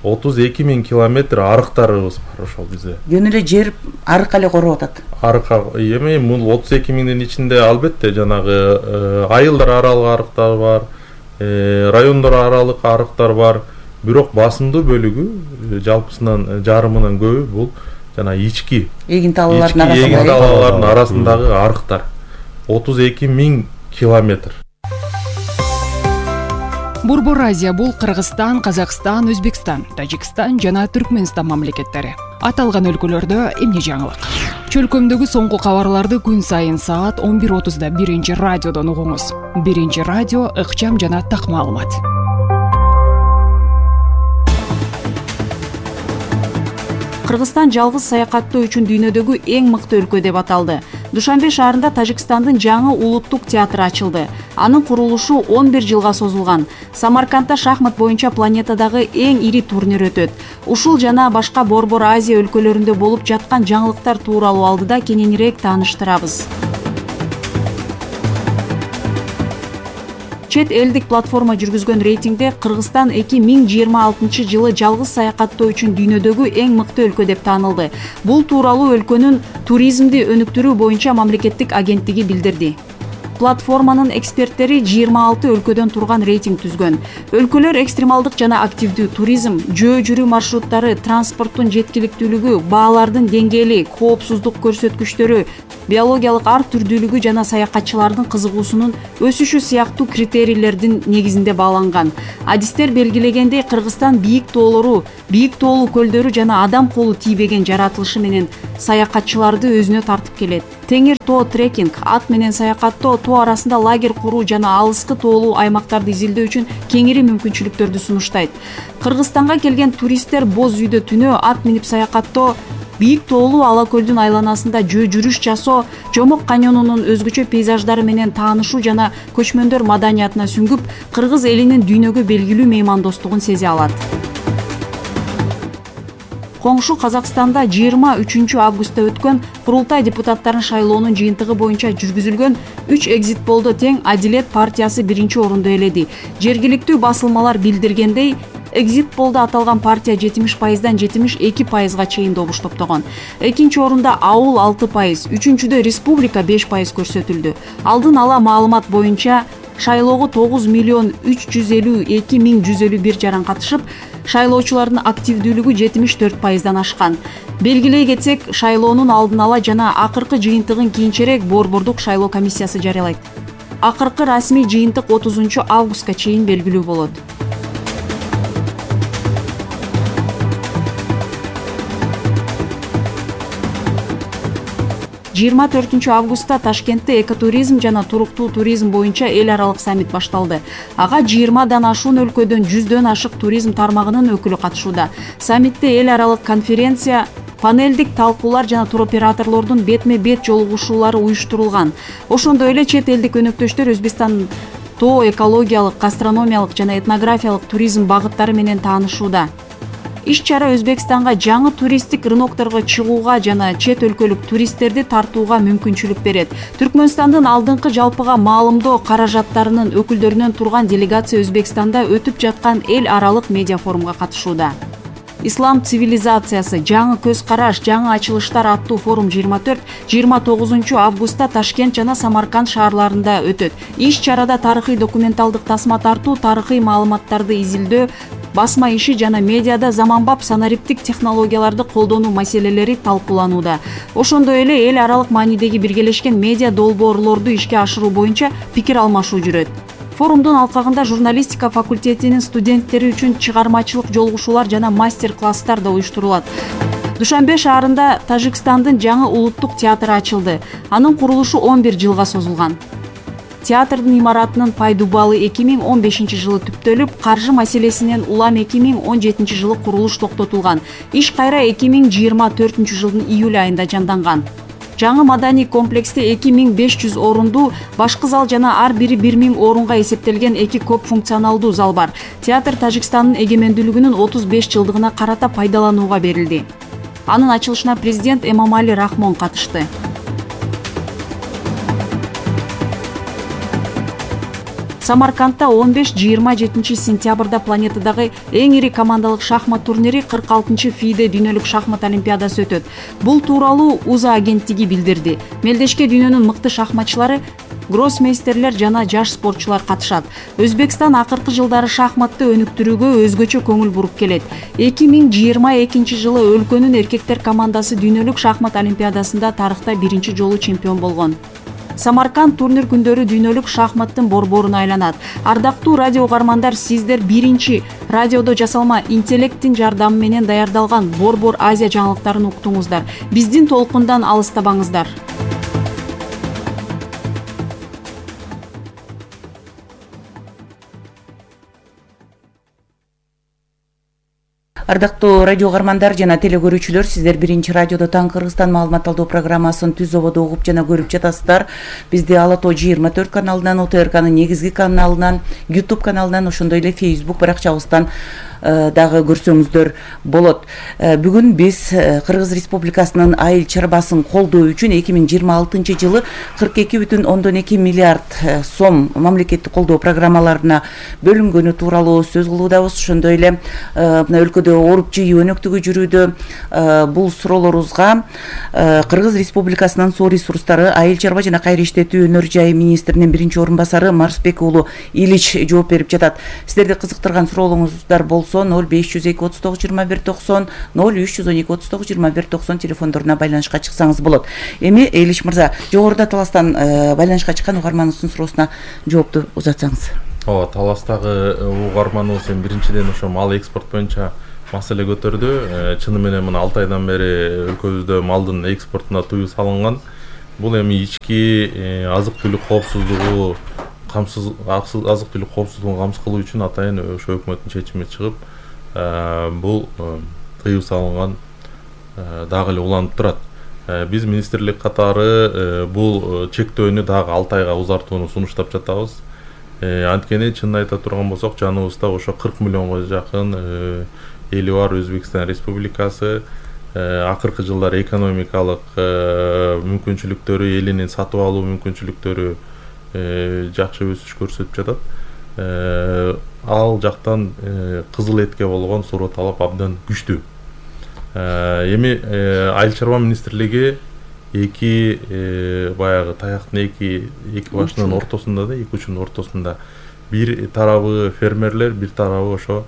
32 000 километр арыктарыбыз бар ошол бизде. Жөн эле жер арык эле короп атат. Арыкка эми бул 32 000дин ичинде албетте жанагы айылдар аралык арыктар бар, райондор аралык арыктар бар. Бирок басымдуу бөлүгү, жалпысынан жарымынан көбү бул жана ички эгин талаалардын арасындагы арыктар. 32 000 километр. Борбор Азия бул Кыргызстан, Казакстан, Өзбекстан, Тажикстан жана Түркмөнстан мамлекеттери. Аталган өлкөлөрдө эмне жаңылык? Чөлкөмдөгү соңку кабарларды күн сайын саат 11:30 биринчи радиодон угуңуз. Биринчи радио ыкчам жана так маалымат. Кыргызстан жалгыз саякаттоо үчүн дүйнөдөгү эң мыкты өлкө деп аталды. Душанбе шаарында Тажикстандын жаңы улуттук театры ачылды. Анын курулушу 11 жылга созулган. Самаркандда шахмат боюнча планетадагы эң ири турнир өтөт. Ушул жана башка Борбор Азия өлкөлөрүндө болуп жаткан жаңылыктар тууралуу алдыда кененирээк тааныштырабыз. Чет элдик платформа жүргүзгөн рейтингде Кыргызстан 2026 жылы жалгыз саякаттоо үчүн дүйнөдөгү эң мыкты өлкө деп таанылды. Бул тууралуу өлкөнүн туризмди өнүктүрүү боюнча мамлекеттик агенттиги билдирди. Платформанын эксперттери 26 өлкөдөн турган рейтинг түзгөн. Өлкөлөр экстремалдык жана активдүү туризм, жөө жүрүү маршруттары, транспорттун жеткиликтүүлүгү, баалардын деңгээли, коопсуздук көрсөткүчтөрү, биологиялык ар түрдүүлүгү жана саякатчылардын кызыгуусунун өсүшү сыяктуу критерийлердин негизинде бааланган. Адистер белгилегендей, Кыргызстан бийик тоолору, бийик тоолуу көлдөрү жана адам колу тийбеген жаратылышы менен саякатчыларды өзүнө тартып келет. Теңир тоо трекинг, ат менен саякаттоо, тоо арасында лагерь куруу жана алыскы тоолуу аймактарды изилдөө үчүн кеңири мүмкүнчүлүктөрдү сунуштайт. Кыргызстанга келген туристтер боз үйдө түнөө ат минип саякаттоо, бийик тоолуу ала көлдүн айланасында жөө жүрүш жасоо, Жомок каньонунун өзгөчө пейзаждары менен таанышуу жана көчмөндөр маданиятына сүңгүп, кыргыз элинин дүйнөгө белгилүү меймандостугун сезе алат. Коңшу Казакстанда 23 августта өткөн курултай депутаттарын шайлоонун жыйынтыгы боюнча жүргүзүлгөн 3 экзит полдо тең Адилет партиясы биринчи орунду ээледи. Жергиликтүү басылмалар билдиргендей, экзит полдо аталган партия 70%дан 72%га чейин добуш топтогон. Экинчи орунда Ауыл 6%, үчүнчүдө Республика 5% көрсөтүлдү. Алдын ала маалымат боюнча шайлоого 9.352.151 жаран катышып, шайлоочулардын активдүүлүгү 74%дан ашкан. Белгилей кетсек, шайлоонун алдын ала жана акыркы жыйынтыгын кийинчерээк Борбордук шайлоо комиссиясы жарыялайт. Акыркы расмий жыйынтык 30 августка чейин белгилүү болот. Жыйырма 4 августта Ташкентте экотуризм жана туруктуу туризм боюнча эл аралык саммит башталды. Ага 20дан ашуун өлкөдөн 100дөн ашык туризм тармагынын өкүлү катышууда. Саммитте эл аралык конференция, панелдик талкуулар жана туроператорлордун бетме-бет жолугушуулары уюштурулган. Ошондой эле чет элдик өнөктөштөр Өзбекстан тоо экологиялык, гастрономиялык жана этнографиялык туризм багыттары менен таанышууда. Иш-чара Өзбекстанга жаңы туристтик рынокторго чыгууга жана чет өлкөлүк туристтерди тартууга мүмкүнчүлүк берет. Түркмөнстандын алдыңкы жалпыга маалымдоо каражаттарынын өкүлдөрүнөн турган делегация Өзбекстанда өтүп жаткан эл аралык медиа форумга катышууда. Ислам цивилизациясы, жаңы көз караш, жаңы ачылыштар аттуу форум 24-29 августта Ташкент жана Самарканд шаарларында өтөт. Иш-чарада тарыхый документалдык тасма тартуу, тарыхый маалыматтарды изилдөө, басма иши жана медиада заманбап санариптик технологияларды колдонуу маселелери талкууланууда. Ошондой эле эл аралык маанидеги биргелешкен медиа долбоорлорду ишке ашыруу боюнча пикир алмашуу жүрөт. Форумдун алкагында журналистика факультетинин студенттери үчүн чыгармачылык жолугушуулар жана мастер-класстар да уюштурулат. Душанбе шаарында Тажикстандын жаңы улуттук театры ачылды. Анын курулушу 11 жылга созулган. Театрдын имаратынын пайдубалы 2015 жылы түптөлүп, каржы маселесинен улам 2017 жылы курулуш токтотулган. Иш кайра 2024 жылдын июль айында жанданган. Жаңы маданий комплексте 2500 орундуу башкы зал жана ар бири 1000 орунга эсептелген 2 көп функционалдуу зал бар. Театр Тажикстандын эгемендүүлүгүнүн 35 жылдыгына карата пайдаланууга берилди. Анын ачылышына президент Эмомали Рахмон катышты. Самаркандта 15-27 сентябрда планетадагы эң ири командалык шахмат турнири 46 ФИДе дүйнөлүк шахмат олимпиадасы өтөт. Бул тууралуу УЗА агенттиги билдирди. Мелдешке дүйнөнүн мыкты шахматчылары, гроссмейстерлер жана жаш спортчулар катышат. Өзбекстан акыркы жылдары шахматты өнүктүрүүгө өзгөчө көңүл буруп келет. 2022 жылы өлкөнүн эркектер командасы дүйнөлүк шахмат олимпиадасында тарыхта биринчи жолу чемпион болгон. Самарканд турнир күндөрү дүйнөлүк шахматтын борборуна айланат. Ардактуу радио угармандар, сиздер биринчи радиодо жасалма интеллекттин жардамы менен даярдалган Борбор Азия жаңылыктарын уктуңуздар. Биздин толкундан алыстабаңыздар. Ардактуу радио угармандар жана теле көрүүчүлөр, сиздер биринчи радиодо Таң Кыргызстан маалымат алуу программасын түз ободо угуп жана көрүп жатасыздар. Бизди Ала Тоо 24 каналынан, ОТРКнын негизги каналынан, YouTube каналынан, ошондой эле Facebook баракчабыздан дагы көрсөңүздөр болот. Бүгүн биз Кыргыз Республикасынын айыл чарбасын колдоо үчүн 2026 жылы 42,2 миллиард сом мамлекеттик колдоо программаларына бөлүнгөнү тууралуу сөз кылуудабыз. Ошондой эле мына өлкөдө ооруп жыйуу өнөктүгү жүрүүдө. Бул суроолорубузга Кыргыз Республикасынын суу ресурстары, айыл чарба жана кайра иштетүү өнөр жайы министринин биринчи орун басары Марсбек уулу Илич жооп берип жатат. Сиздерди кызыктырган суроолуңуздар болсо 0502 39 21 90, 0312 39 21 90 телефондоруна байланышка чыксаңыз болот. Эми Илич мырза, жогоруда Таластан байланышка чыккан угарманыбыздын суроосуна жоопту узатсаңыз. Ооба, Таластагы угарманыбыз биринчиден ошо мал экспорт боюнча маселе көтөрдү. Чыны менен мына 6 айдан бери өлкөбүздө малдын экспортуна тыюу салынган. Бул эми ички азык-түлүк коопсуздугу азык-түлүк коопсуздугун камсыз кылуу үчүн атайын ошо өкмөттүн чечими чыгып, бул тыюу салынган дагы эле уланып турат. Биз министрлик катары бул чектөөнү дагы 6 айга узартууну сунуштап жатабыз. Анткени чынын айта турган болсок, жаныбызда ошо 40 миллионго жакын эли бар Өзбекстан Республикасы. Акыркы жылдары экономикалык мүмкүнчүлүктөрү, элинин сатып алуу мүмкүнчүлүктөрү жакшы өсүш көрсөтүп жатат. Ал жактан кызыл этке болгон суроо талап абдан күчтүү. Эми айыл чарба министрлиги эки баягы таяктын эки башынын ортосунда да, эки учунун ортосунда, бир тарабы фермерлер, бир тарабы ошо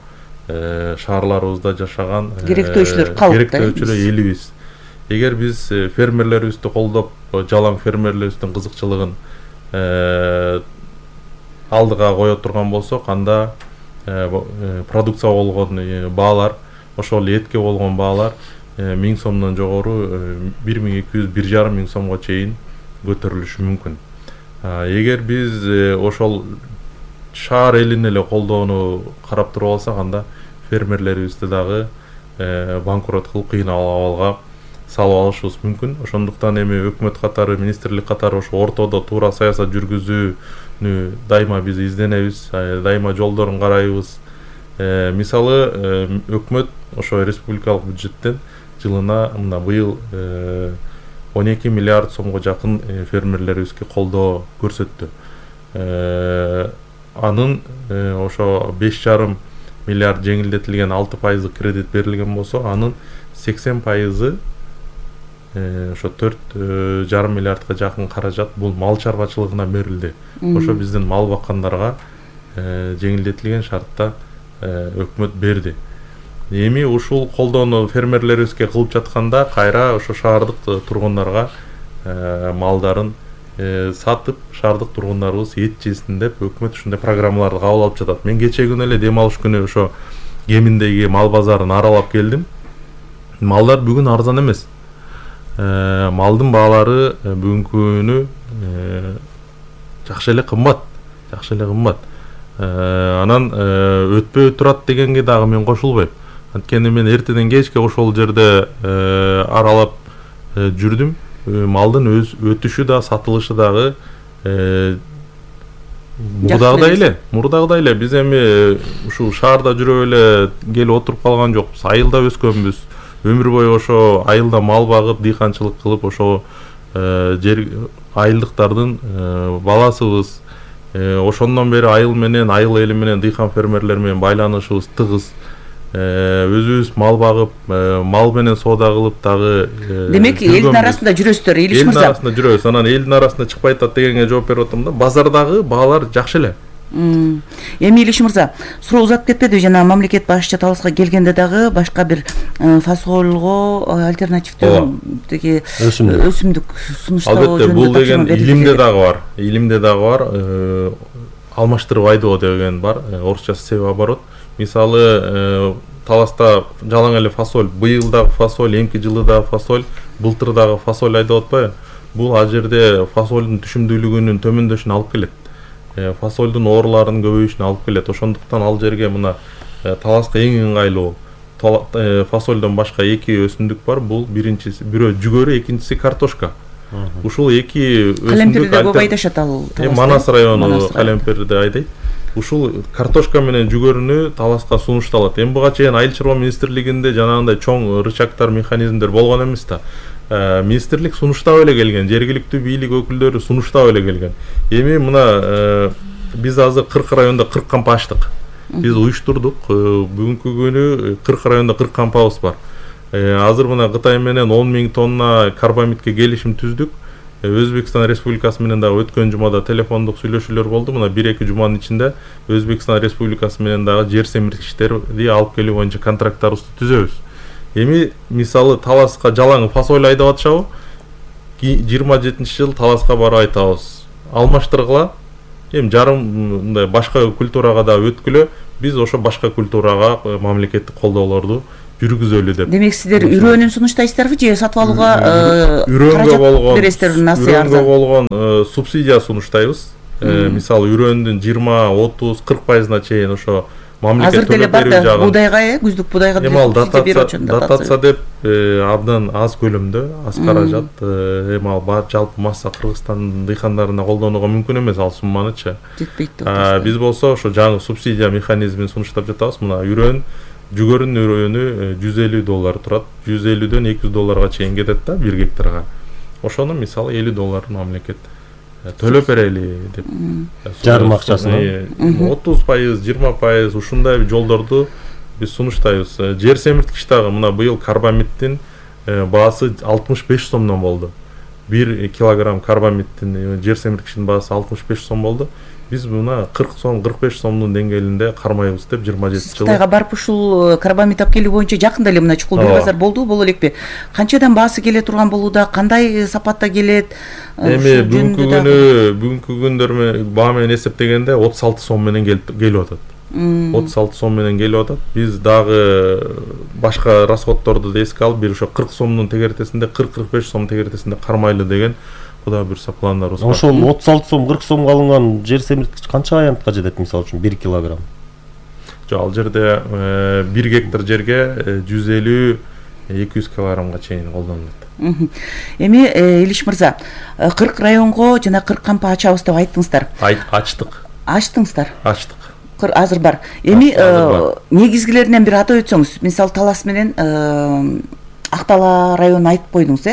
шаарларыбызда жашаган керектөөчүлөр, керектөөчүлөр элибиз. Эгер биз фермерлерибизди колдоп, жалаң фермерлерибиздин кызыкчылыгын алдыга кое турган болсок, анда продукция болгон баалар, ошол этке болгон баалар 1000 сомдон жогору 1200-1,5 миң сомго чейин көтөрүлүшү мүмкүн. Эгер биз ошол шаар элин эле колдоону карап туруп алсак, анда фермерлерибизди дагы банкрот кылып кыйын абалга салып алышыбыз мүмкүн. Ошондуктан эми өкмөт катары, министрлик катары ошо ортодо туура саясат жүргүзүүнү дайыма биз изденебиз, дайыма жолдорун карайбыз. Мисалы, өкмөт ошо республикалык бюджеттен жылына мына быйыл 12 миллиард сомго жакын фермерлерибизге колдоо көрсөттү. Анын ошо 5,5 миллиард жеңилдетилген 6% кредит берилген болсо, анын 80% ошо 4,5 миллиардга жакын каражат бул мал чарбачылыгына берилди. Ошо биздин мал баккандарга жеңилдетилген шартта өкмөт берди. Эми ушул колдоону фермерлерибизге кылып жатканда, кайра ошо шаардык тургундарга малдарын сатып, шаардык тургундарыбыз эт жесин деп өкмөт ушундай программаларды кабыл алып жатат. Мен кече күнү эле дем алыш күнү ошо Кеминдеги мал базарын аралап келдим. Малдар бүгүн арзан эмес. Малдын баалары бүгүнкү күнү жакшы эле кымбат. Анан өтпөй турат дегенге дагы мен кошулбайм. Анткени мен эртеден кечке ошол жерде аралап жүрдүм. Малдын өтүшү да, сатылышы дагы мурдагыдай эле. Биз эми ушул шаарда жүрүп эле келип отуруп калган жокпуз. Айылда өскөнбүз. Өмүр бою ошо айылда мал багып, дыйканчылык кылып, ошо жер айылдыктардын баласыбыз. Ошондон бери айыл эли менен, дыйкан фермерлер менен байланышыбыз тыгыз. Өзүбүз мал багып, мал менен соода кылып дагы. Демек, элдин арасында жүрөсүздөр, Илич мырза. Элдин арасында жүрөбүз. Анан элдин арасында чыкпай атат дегенге жооп берип атам да. Базардагы баалар жакшы эле. Эми Илиш мырза, суроо узап кетпеди, жана мамлекет башчы Таласка келгенде дагы башка бир фасолго альтернативдүү деги өсүмдүк сунуштоо албетте бул деген илимде дагы бар, алмаштырып айдоо деген бар, орусчасы себеоборот. Мисалы Таласта жалаң эле фасоль, быйыл дагы фасоль, эмки жылы дагы фасоль, былтыр дагы фасоль айдап атпайбы? Бул ал жерде фасолдун түшүмдүүлүгүнүн төмөндөшүнө алып келет. Фасолдун ооруларынын көбөйүшүнө алып келет. Ошондуктан ал жерге мына Таласка эң ыңгайлуу фасолдон башка эки өсүмдүк бар. Бул биринчиси бирөө жүгөрү, экинчиси картошка. Ушул эки өсүмдүк Калемперде көп айдашат ал Таласта. Манас району Калемперде айдайт. Ушул картошка менен жүгөрүнү Таласка сунушталат. Эми буга чейин Айыл чарба министрлигинде жанагындай чоң рычагтар, механизмдер болгон эмес да. Министрлик сунуштап эле келген, жергиликтүү бийлик өкүлдөрү сунуштап эле келген. Эми мына биз азыр 40 районда 40 кампа ачтык. Биз уюштурдук. Бүгүнкү күнү 40 районда 40 кампабыз бар. Азыр мына Кытай менен 10 000 тонна карбамидке келишим түздүк. Өзбекстан Республикасы менен дагы өткөн жумада телефондук сүйлөшүүлөр болду. Мына 1-2 жуманын ичинде Өзбекстан Республикасы менен дагы жер семирткичтерди алып келүү боюнча контракттарыбызды түзөбүз. Эми мисалы Таласка жалаң фасоль айдап атышабы? 27-жыл Таласка барып айтабыз. Алмаштыргыла. Эми жарым мындай башка культурага да өткүлө. Биз ошо башка культурага мамлекеттик колдоолорду жүргүзөлү деп. Демек сиздер үрөөнүн сунуштайсыздарбы же сатып алууга бересиздерби? Үрөөнгө болгон субсидия сунуштайбыз. Мисалы үрөөндүн 20-30-40% чейин ошо мамлекет төлөп берүү жагы. Будайга, күздүк будайга субсидия берип атышат. Дотация деп абдан аз көлөмдө, аз каражат. Эми ал жалпы масса Кыргызстан дыйкандарына колдонууга мүмкүн эмес ал сумманычы. Жетпейт деп атасыздар. Биз болсо ошо жаңы субсидия механизмин сунуштап жатабыз. Мына үрөөн жүгөрүнүн үрөөнү $150 турат. $150дөн $200 чейин кетет да 1 гектарга. Ошону мисалы $50 мамлекет төлөп берели деп. Жарым акчасын 30%, 20% ушундай жолдорду биз сунуштайбыз. Жер семирткич дагы мына быйыл карбамиддин баасы 65 сомдон болду. 1 килограмм карбамиддин жер семирткичтин баасы 65 сом болду. Биз мына 40 сом, 45 сомдун деңгээлинде кармайбыз деп 27 жыл. Кытайга барып ушул карбамид алып келүү боюнча жакында эле мына чукул базар болду, боло элекпи? Канчадан баасы келе турган болууда, кандай сапатта келет? Эми бүгүнкү күндөр баа менен эсептегенде 36 сом менен келип атат. 36 сом менен келип атат. Биз дагы башка расходторду да эске алып, бир ошо 40 сомдун тегертесинде, 40-45 сом тегертесинде кармайлы деген куда буюрса пландарыбыз бар. Ошол 36 сом, 40 сомго алынган жер семирткич канча аянтка жетет мисалы үчүн 1 килограмм? Жок, ал жерде 1 гектар жерге 150-200 килограммга чейин колдонулат. Эми Илиш мырза, 40 районго жана 40 кампа ачабыз деп айттыңыздар. Ачтык. Ачтыңыздар? Ачтык. Азыр бар. Эми негизгилеринен бир атап өтсөңүз, мисалы Талас менен Актала районун айтып койдуңуз,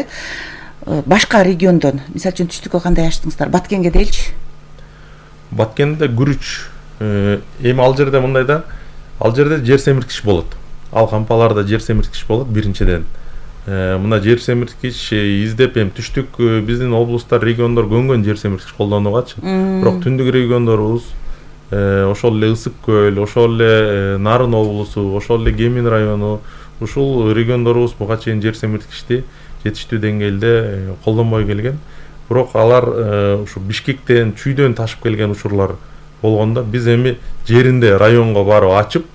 башка региондон, мисалы үчүн түштүккө кандай ачтыңыздар? Баткенге деличи? Баткенде күрүч. Эми ал жерде мындай да, ал жерде жер семирткич болот. Ал кампаларда жер семирткич болот биринчиден. Мына жер семирткич издеп эми түштүк биздин облустар, региондор көнгөн жер семирткич колдонуугачы. Бирок түндүк региондорубуз ошол эле Ысык көл, ошол эле Нарын облусу, ошол эле Кемин району, ушул региондорубуз буга чейин жер семирткичти жетиштүү деңгээлде колдонбой келген. Бирок алар ушу Бишкектен, Чүйдөн ташып келген учурлар болгондо биз эми жеринде районго барып ачып,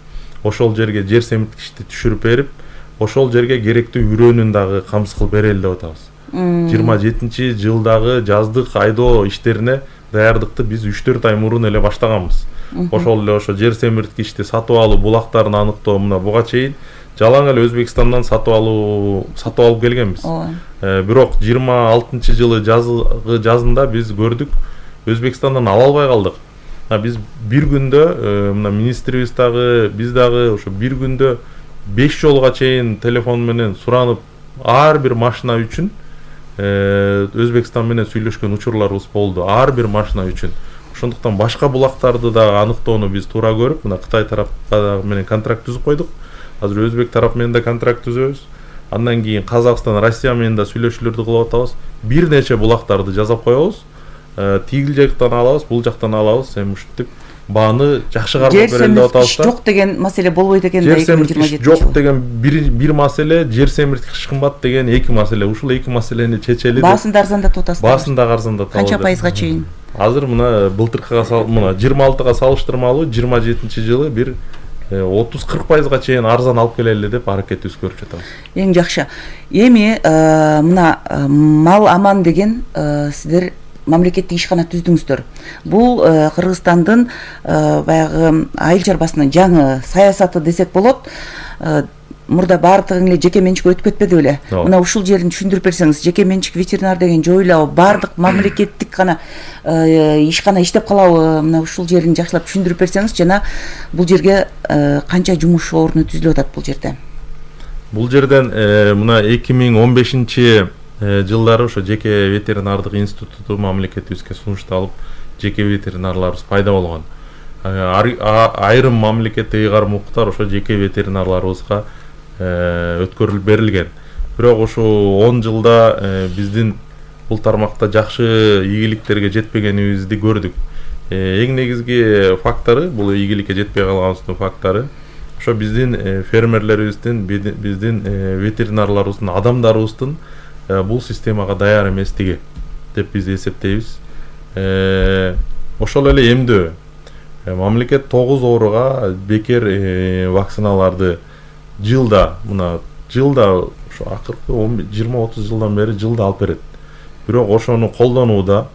ошол жерге жер семирткичти түшүрүп берип, ошол жерге керектүү үрөөнүн дагы камсыз кылып берели деп атабыз. 27-жылдагы жаздык айдоо иштерине даярдыкты биз 3-4 ай мурун эле баштаганбыз. Ошол эле ошо жер семирткичти сатып алуу булактарын аныктоо мына буга чейин жалаң эле Өзбекстандан сатып алып келгенбиз. Бирок 26-жылы жазында биз көрдүк, Өзбекстандан ала албай калдык. Биз бир күндө мына министрибиз дагы, биз дагы ошо бир күндө 5 жолга чейин телефон менен суранып, ар бир машина үчүн Өзбекстан менен сүйлөшкөн учурларыбыз болду. Ар бир машина үчүн. Ошондуктан башка булактарды да аныктоону биз туура көрүп, мына Кытай тарапка менен контракт түзүп койдук. Азыр Өзбек тарап менен да контракт түзөбүз. Андан кийин Казакстан, Россия менен да сүйлөшүүлөрдү кылып атабыз. Бир нече булактарды жасап коебуз. Тигил жактан алабыз, бул жактан алабыз. Эми ушинтип бааны жакшы кармап жер берели деп атабыз семирткич жок деген маселе болбойт экен да. Жер семирткич жок деген бир маселе, жер семирткич кымбат деген эки маселе. Ушул эки маселени чечели. Баасын да арзандатып атасыздар. Баасын да арзандатып Канча пайызга чейин? Азыр мына былтыркыга мына 26-га салыштырмалуу 27-жылы бир 30-40% чейин арзан алып келели деп аракетибиз көрүп жатабыз. Эң жакшы. Эми мына мал аман деген сиздер мамлекеттик ишкана түздүңүздөр. Бул Кыргызстандын баягы айыл чарбасынын жаңы саясаты десек болот. Мурда баардыгы эле жеке менчикке өтүп кетпеди беле? Мына ушул жерин түшүндүрүп берсеңиз, жеке менчик ветеринар деген жоюлабы, баардык мамлекеттик гана ишкана иштеп калабы? Мына ушул жерин жакшылап түшүндүрүп берсеңиз, жана бул жерге канча жумуш орну түзүлүп атат бул жерде? Бул жерден мына 2015-жылдары ошо жеке ветеринардык институту мамлекетибизге сунушталып, жеке ветеринарларыбыз пайда болгон. Айрым мамлекеттик ыйгарым укуктар ошо жеке ветеринарларыбызга өткөрүлүп берилген. Бирок ошо 10 жылда биздин бул тармакта жакшы ийгиликтерге жетпегенибизди көрдүк. Эң негизги фактору, бул ийгиликке жетпей калганыбыздын фактору ошо биздин фермерлерибиздин, биздин ветеринарларыбыздын, адамдарыбыздын бул системага даяр эместиги деп биз эсептейбиз. Ошол эле эмдөө. Мамлекет 9 ооруга бекер вакциналарды жылда ошо акыркы 20-30 жылдан бери жылда алып берет. Бирок ошону колдонууда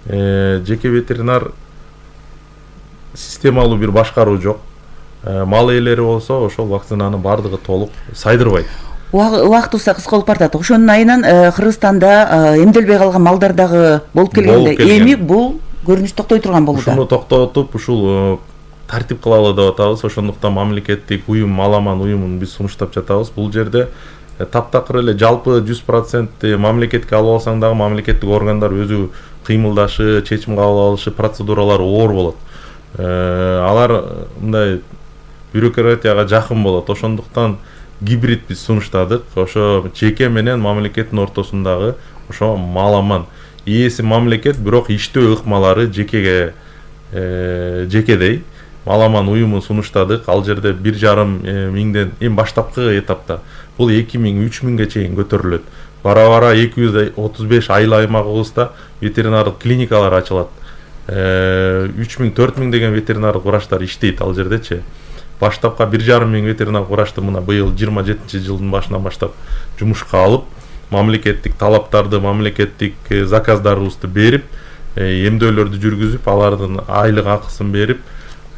жеке ветеринар системалуу бир башкаруу жок. Мал ээлери болсо ошол вакцинаны бардыгы толук сайдырбайт. Убактыбызда кыска болуп баратат. Ошонун айынан Кыргызстанда эмделбей калган малдар дагы болуп келгенде, эми бул көрүнүш токтой турган болууда. Ушуну токтотуп, ушул тартип кылалы деп атабыз. Ошондуктан мамлекеттик уюм, Маламан уюмун биз сунуштап жатабыз. Бул жерде таптакыр эле жалпы 100% мамлекетке алып алсаң дагы мамлекеттик органдар өзү кыймылдашы, чечим кабыл алышы, процедуралары оор болот. Алар мындай бюрократияга жакын болот. Ошондуктан гибрид биз сунуштадык. Ошо жеке менен мамлекеттин ортосундагы ошо Маламан. Ээси мамлекет, бирок иштөө ыкмалары жекедей. Маламан уюмун сунуштадык. Ал жерде 1,5 миңден эң баштапкы этапта бул 2000-3000ге чейин көтөрүлөт. Бара-бара 235 айыл аймагыбызда ветеринардык клиникалар ачылат. 3000-4000 деген ветеринардык врачтар иштейт ал жердечи. Баштапка 1,5 миң ветеринардык врачты мына быйыл 27-жылдын башынан баштап жумушка алып, мамлекеттик талаптарды, мамлекеттик заказдарыбызды берип, эмдөөлөрдү жүргүзүп, алардын айлык акысын берип,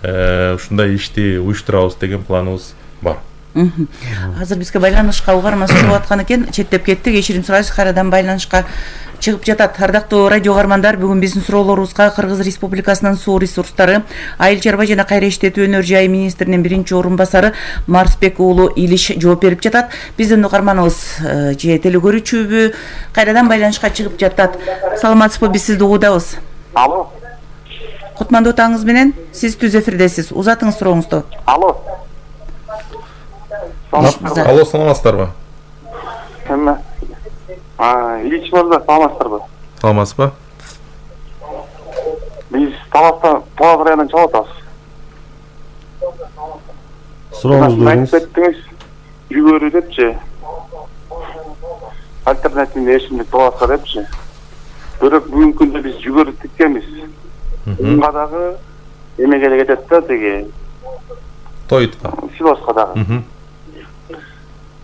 ушундай ишти уюштурабыз деген планыбыз бар. Азыр бизге байланышка угарма чыгып аткан экен, четтеп кеттик. Кечирим сурайбыз, кайрадан байланышка чыгып жатат. Ардактуу радио угармандар, бүгүн биздин суроолорубузга Кыргыз Республикасынын суу ресурстары, айыл чарба жана кайра иштетүү өнөр жайы министринин биринчи орун басары Марсбек уулу Илиш жооп берип жатат. Биздин угарманыбыз же телекөрүүчүбү кайрадан байланышка чыгып жатат. Саламатсызбы, биз сизди угудабыз. Алло. Кутмандуу таңыңыз менен, сиз түз эфирдесиз. Узатыңыз сурооңузду. Алло. Алло, саламатсыздарбы? Илич мырза, саламатсыздарбы? Саламатсызбы? Биз Таластан, Талас районунан чалып атабыз. Сурооңузду бериңиз. Кеттиңиз, жүгөрү депчи. Альтернативный эшимдик Таласка депчи. Бирок бүгүнкү күндө биз жүгөрү тиккенбиз. Унга дагы эмеге эле кетет да, теги Тойтка. Силоска дагы.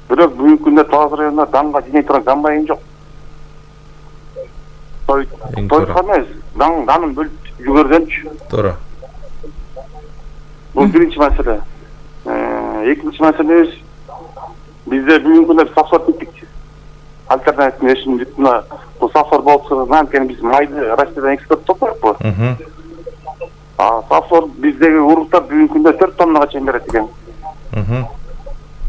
Бирок бүгүнкү күндө Талас районунда даңга жиней турган комбайн жок. Тойтка эмес, данын бөлүп жүгөргөнчү. Туура. Бул биринчи маселе. Экинчи маселебиз, бизде бүгүнкү күндө сафар тиктик. Альтернативный эшимдик мына бул сафар болсо, анткени биз майды Россиядан экспорттоп коёкпу. Сафар биздеги уруктар бүгүнкү күндө 4 тоннага чейин берет экен.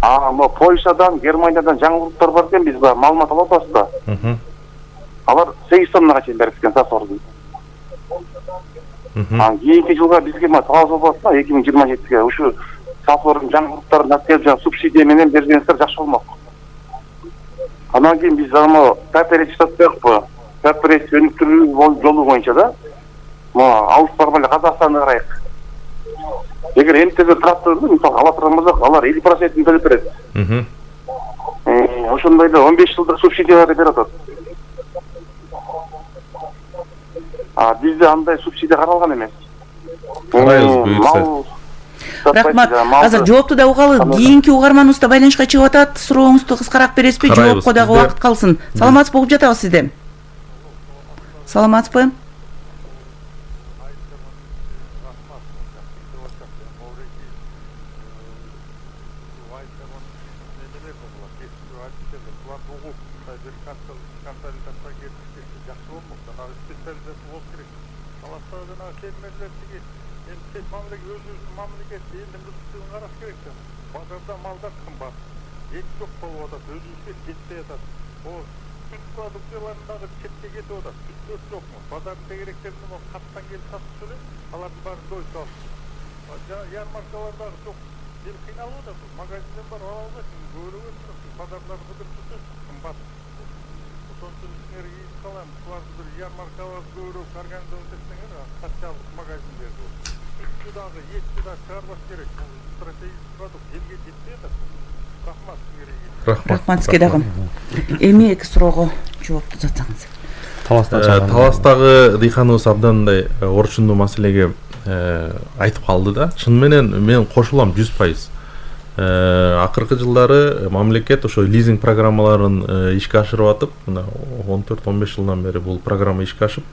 Мо Польшадан, Германиядан жаңы уруктар бар экен, биз маалымат алып атабыз да. Алар 8 тоннага чейин берет экен сафарды. Кийинки жылга бизге талап болсо 2027-ге ушу сафардын жаңы уруктарын алып субсидия менен бергенсиздер жакшы болмок. Анан кийин биз паперец сатып коёкпу. Паперец өнүктүрүү жолу боюнча да. Алыс барбай эле Казакстанга карайык. эгер МТЗ тракторду мисалы ала турган болсок, алар 50% төлөп берет. Ошондой эле 15 жылдык субсидияларды берип атат. Бизде андай субсидия каралган эмес. Карайбыз буюрса. Рахмат. Азыр жоопту да угалы. Кийинки угарманыбыз да байланышка чыгып атат. Сурооңузду кыскараак бересизби? Жоопко дагы убакыт калсын. Саламатсызбы, угуп жатабыз сизди. Саламатсызбы? Базарда малдар кымбат, ет жок болуп атат, өзүбүзгө жетпей атат. Сүт продукцияларындагы четке кетип атат, сүттөр жокму? Базардын тегеректерин каттан келип сатып эле, алардын баары дойчу алып. Ярмаркалардагы жок, эл кыйналып атат. Магазинден барып ала албайсың, көрүбөсүң, базарлар кыдырып кымбат. Ошон үчүн силерге ийип калам, буларды бир ярмаркалар көбүрөөк организовать этсеңер, катчалык магазиндерди. Сүттү дагы, этти дагы чыгарбаш керек. Стратегический продукт элге жетпей атат. Рахмат силерге. Рахмат сизге дагы. Эми эки суроого жоопту жатсаңыз. Таластагы дыйканыбыз абдан мындай орчундуу маселеге айтып калды да. Чын менен мен кошулам 100%. Акыркы жылдары мамлекет ошо лизинг программаларын ишке ашырып атып, мына 14-15 жылдан бери бул программа ишке ашып,